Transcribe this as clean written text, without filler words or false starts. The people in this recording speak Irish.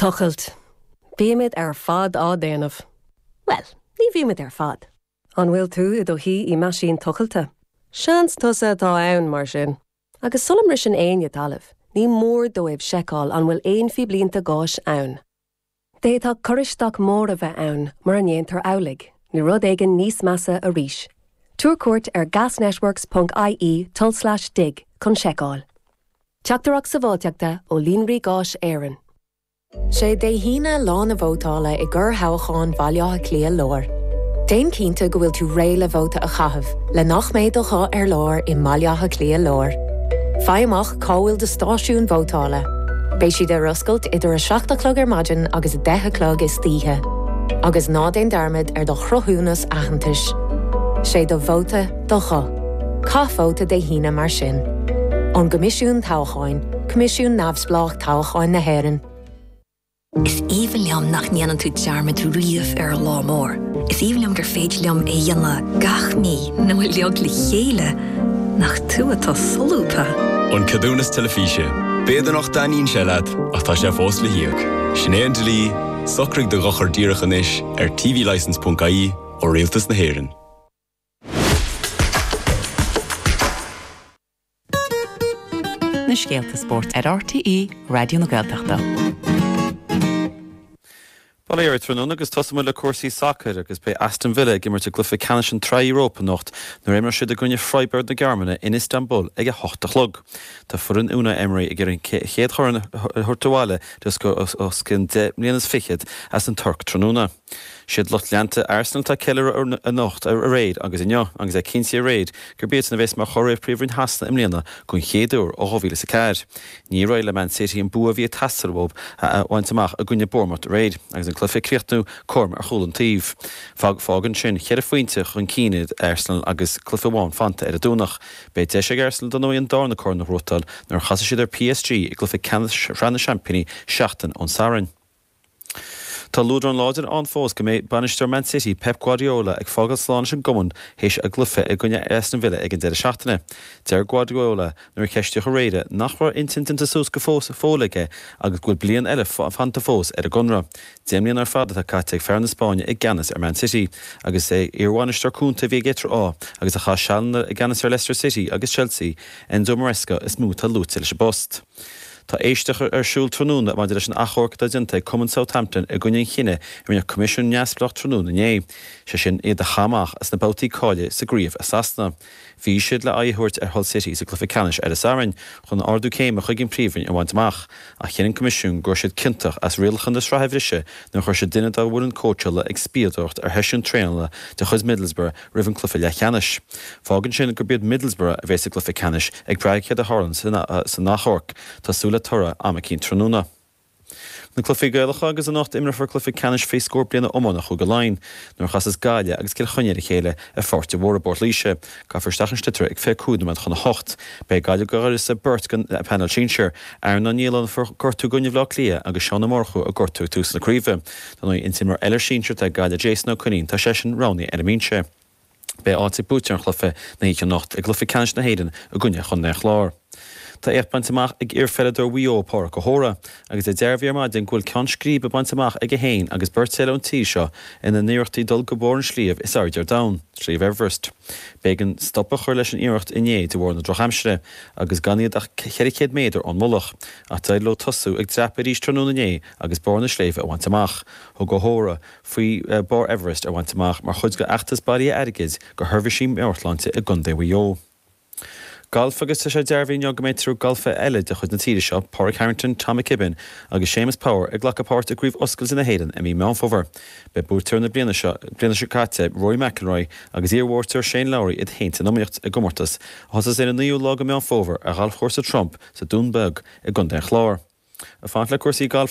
Tochailt. Bímid ar fad á déanamh. Bhuel, ní bhímid ar fad. An bhfuil tú i do shuí i meaisín tochailte? Seans tusa atá ann, mar sin. Agus sula mbriseann éinne talamh, ní mór dóibh seiceáil an bhfuil aon phíblínte gáis ann. D'fhéadfadh cur isteach mór a bheith ann mura ndéantar amhlaidh, nó rud éigin níos measa arís. Tabhair cuairt ar gasnetworks ponc ie tulslais dig chun seiceáil. Teachtaireacht Sábháilteachta ó Líonraí Gáis Éireann. Sé Dé hAoine lá na vótála i gcorrthoghchán Bhaile Átha Cliath Láir. Déan cinnte go bhfuil tú réidh le vóta a chaitheamh le nach mbeidh do ghuth ar lár i mBaile Átha Cliath Láir. Faigh amach cá bhfuil do stáisiún vótála. Beidh siad ar oscailt idir 7 a chlog ar maidin agus 10 a chlog istoíche. Agus ná déan dearmad ar do chruthúnas aitheantais. Sé do vóta do ghuth. Caith vóta Dé hAoine mar sin. Ón gCoimisiún Toghcháin, Coimisiún Neamhspleách Toghcháin na hÉireann. Is aoibhinn liom nach ndéanann tú dearmad riamh ar an lá mór. Is aoibhinn liom gur féidir liom é a dhéanamh gach mí nó uilig le chéile. Nach tú atá solúbtha! An Ceadúnas Teilifíse. B'fhéidir nach dtaitníonn sé leat, ach tá sé fós le híoc. Sin é an dlí, socraigh do dhochar díreach anois ar tvlicence.ie ó Rialtas na hÉireann. Na scéalta spóirt ar RTÉ Raidió na Gaeltachta. Bail ó Dhia oraibh tráthnóna agus tosóidh muid le cúrsaí sacair agus beidh Aston Villa ag imirt i gcluiche ceannais an tSraith Europa anocht nuair a imreoidh siad i gcoinne Freiburg na Gearmáine in Istanbul ag a hocht a chlog. Tá foireann Unai Emery ag iarraidh an chéad chorn a thabhairt abhaile le os cionn 10 mbliana is fichead as an Tuirc tráthnóna. Siad lucht leanta Arsenal atá ag ceiliúradh anocht, aréir agus inniu agus é cinntithe aréir gurb iadsan a bheas mar churaidh ar Phríomhroinn Shasana i mbliana don chéad uair ó 2004. Níor éirigh le Man City an bua a bhí ag teastáil uathu a bhaint amach i gcoinne Bournemouth aréir agus an cluiche ag críochnú cothrom ar chúl an taobh. Fágann sin cheithre phointe chun cinn iad Arsenal agus cluiche amháin fanta ar an Domhnach. Beidh deis ag Arsenal dar ndóigh an darna corn a ghnóthachtáil nuair a chasfaidh siad ar PSG i gcluiche ceannais Shraith na Seaimpíní seachtain ón Satharn. Tá luadrán láidir ann fós go mbeidh bainisteoir Man City, Pep Guardiola, ag fágáil slán leis an gcumann théis a gcluiche i gcoinne Aston Villa ag an deireadh seachtaine. Deir Guardiola nuair a ceistíodh aréir nach raibh a intinn déanta suas go fóill aige agus go bhfuil bliain eile fanta fós ar a gconradh. 10 mbliana ar fad atá caite ag fear na Spáinne i gceannas ar Man City agus is é iarbhainisteoir cúnta a bhí aige tráth agus a chaith sealanna i gceannas ar Leicester City agus Chelsea, Enzo Maresca, is mó atá luaite leis an bpost. Tá éisteacht ar siúl tráthnóna maidir leis an achomharc atá déanta ag cumann Southampton i gcoinne an chinnidh a rinne coimisiún neamhspleách tráthnóna inné, sé sin iad a chaitheamh amach as na babhtaí cáilithe sa gcraobh i Sasana. Bhí siad le aghaidh a thabhairt ar Hull City sa gcluiche ceannais ar an Satharn chun ardú céime chuig an Phríomhroinn a bhaint amach, ach chinn an coimisiún go raibh siad ciontach as rialacha na sraithe a bhriseadh nuair a chuir siad duine dá bhfoireann cóitseála ag spiadóireacht ar sheisiún traenála de chuid Middlesbrough roimh an gcluiche leathcheannais. Fágann sin gurb iad Middlesbrough a bheas sa gcluiche ceannais ag brath ar céard a tharlaíonn san achomharc. Tá súil le toradh am eicínt tráthnóna. Na cluichí Gaelacha agus anocht imreofar cluiche ceannais faoi scór bliana iomána Chúige Laighean nuair a chasas Gaillimh agus Cill Chainnigh ar a chéile i Pháirc de Mhórdha i bPort Laoise. Gabhfar isteach an sliotar ag 25 nóiméad chun a hocht. Beidh Gaillimh go d'uireasa beirt den phainéal sinsir, Aaron Ó Nialláin a fuair gortú i gcoinne Bhaile Átha Cliath agus Seán Ó Murchú a gortaíodh ag tús na craoibhe. Dar ndóigh, an t-imreoir eile sinsir atá ag Gaillimh, Jason Ó Coinín, tá seisean roghnaithe ar an mbinse. Beidh áit ag buaiteoir an chluiche na hoíche anocht i gcluiche ceannais na hÉireann i gcoinne Chontae an Chláir. Tá éacht bainte amach ag iarpheileadóir Mhaigh Eo, Pádraic Ó hÓra, agus é dearbhaithe ar maidin go bhfuil ceann scríbe bainte amach aige féin agus beirt eile ón tír seo ina n-iarrachtaí dul go barr an sliabh is airde ar domhan, Sliabh Everest. B'éigean stop a chur leis an iarracht inné de bharr na drochaimsire agus gan iad ach 400 méadar ón mullach, ach d'éirigh leo tosú ag dreapadh arís tráthnóna inné agus barr na sléibhe a bhaint amach. Thug Ó hÓra faoi barr Everest a bhaint amach mar chuid d'fheachtas bailithe airgid do sheirbhísí meabhairshláinte i gContae Mhaigh Eo. Galf agus tá sé dearbhaithe inniu go mbeidh triúr galfaithe eile de chuid na tíre seo, Pádraig Harrington, Tom McKibbin agus Séamus Power ag glacadh páirt i gCraobh Oscailte na hÉireann i mí Meán Fómhair. Beidh buaiteoir na bliana seo bliana seo caite, Rory McIlroy agus iarbhuaiteoir Shane Lowry iad féin san iomaíocht i gcomórtas a thosós ar an 9ú lá de Meán Fómhair ar Ghalfchúrsa Trump sa Dún Beag i gContae an Chláir. Ag fanacht le cúrsaí gailf.